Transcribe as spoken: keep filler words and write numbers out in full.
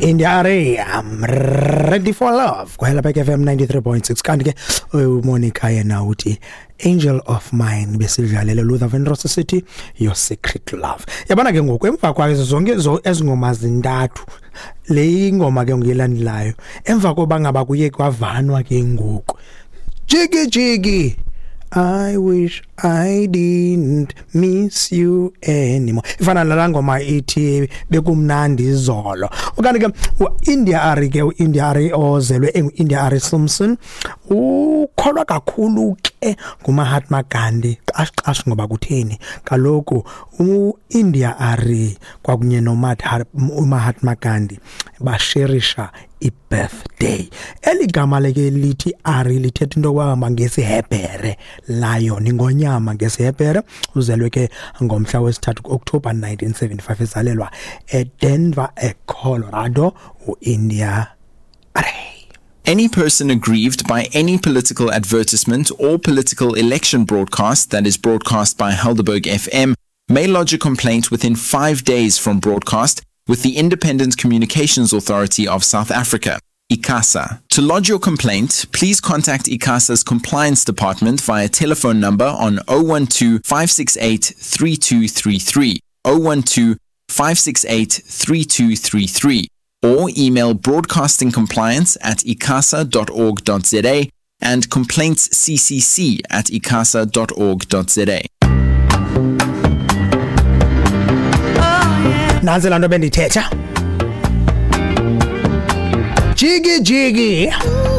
India Arie, I'm ready for love. Kwela F M ninety-three point six. Kanti ke uMonica yena uthi Angel of Mine besidlalele Luther Vandross sithi Your Secret Love. Yabona ke ngoku emva kwazo zonke ezingoma zintathu le ingoma ke ngiyelandelayo emva koba ngaba kuye kwavanwa ke ngoku. Jiggy jiggy, I wish I didn't miss you anymore. Ifana nalaa ngoma ithi bekumnandi izolo. Okanye ke uIndia Arie ke uIndia Arie ozelwe enguIndia Arie Simpson ukholwa kakhulu ke nguMahatma Gandhi. Qash qash ngoba kutheni? Kaloku uIndia Arie kwakunye noMahatma Gandhi basherisha i-birthday. Eli gama leke lithi Arie lithetha into yokuba ngesiHebhere, lion, ingonyama ngesiHebhere. Uzelwe ke ngomhla wesithathu ku-October nineteen seventy-five, ezalelwa eDenver, eColorado, uIndia Arie. Any person aggrieved by any political advertisement or political election broadcast that is broadcast by Helderberg F M may lodge a complaint within five days from broadcast with the Independent Communications Authority of South Africa, ICASA. To lodge your complaint, please contact ICASA's Compliance Department via telephone number on oh one two, five six eight, three two three three, oh one two, five six eight, three two three three, or email broadcastingcompliance at icasa dot org dot z a and complaintsccc at icasa dot org dot z a. Nansi laa nto bendithetha. Jiggy jiggy.